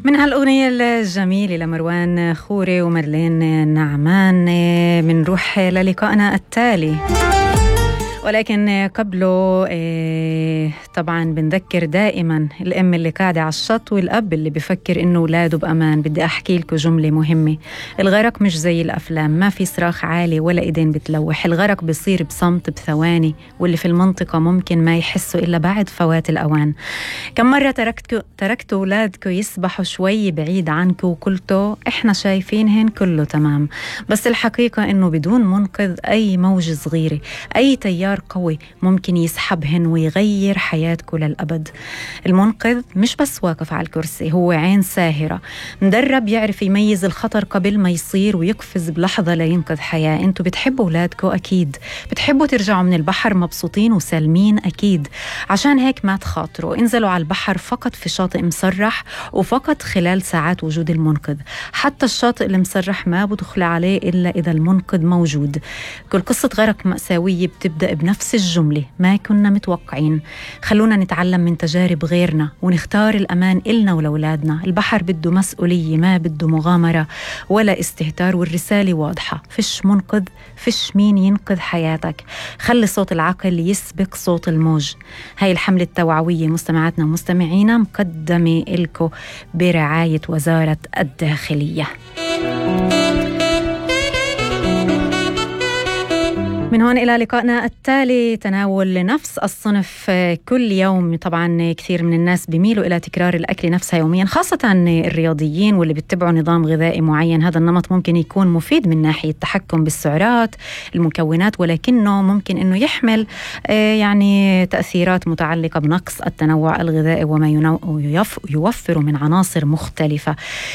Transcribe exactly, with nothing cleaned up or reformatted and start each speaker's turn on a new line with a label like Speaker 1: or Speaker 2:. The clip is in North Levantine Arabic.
Speaker 1: من هالأغنية الجميلة لمروان خوري ومرلين نعمان منروح للقائنا التالي، ولكن قبله طبعا بنذكر دائما الأم اللي قاعدة على الشط والأب اللي بفكر إنه ولاده بأمان. بدي أحكي لكم جملة مهمة: الغرق مش زي الأفلام، ما في صراخ عالي ولا إيدين بتلوح. الغرق بيصير بصمت بثواني، واللي في المنطقة ممكن ما يحسوا إلا بعد فوات الأوان. كم مرة تركتوا تركتوا أولادكم يسبحوا شوي بعيد عنكم وقلتوا إحنا شايفينهن كله تمام، بس الحقيقة إنه بدون منقذ أي موجة صغيرة، أي تيار قوي ممكن يسحبهن ويغير حياتكم للأبد. المنقذ مش بس واقف على الكرسي، هو عين ساهرة، مدرب يعرف يميز الخطر قبل ما يصير ويقفز بلحظة لينقذ حياة. انتوا بتحبوا أولادكم أكيد، بتحبوا ترجعوا من البحر مبسوطين وسالمين أكيد، عشان هيك ما تخاطروا، انزلوا على البحر فقط في شاطئ مسرح وفقط خلال ساعات وجود المنقذ. حتى الشاطئ المسرح ما بدخل عليه إلا إذا المنقذ موجود. كل قصة غرق مأساوية بتبدأ بنفس الجملة: ما كنا متوقعين. خلونا نتعلم من تجارب غيرنا ونختار الأمان إلنا ولأولادنا. البحر بده مسؤولية، ما بده مغامرة ولا استهتار، والرسالة واضحة: فيش منقذ، فيش مين ينقذ حياتك. خلي صوت العقل يسبق صوت الموج. هاي الحملة التوعوية مستمعاتنا ومستمعينا مقدمة إلكو برعاية وزارة الداخلية. من هون إلى لقائنا التالي، تناول لنفس الصنف كل يوم. طبعا كثير من الناس بيميلوا إلى تكرار الأكل نفسها يوميا، خاصة الرياضيين واللي بيتبعوا نظام غذائي معين. هذا النمط ممكن يكون مفيد من ناحية التحكم بالسعرات المكونات، ولكنه ممكن أنه يحمل يعني تأثيرات متعلقة بنقص التنوع الغذائي وما يوفر من عناصر مختلفة.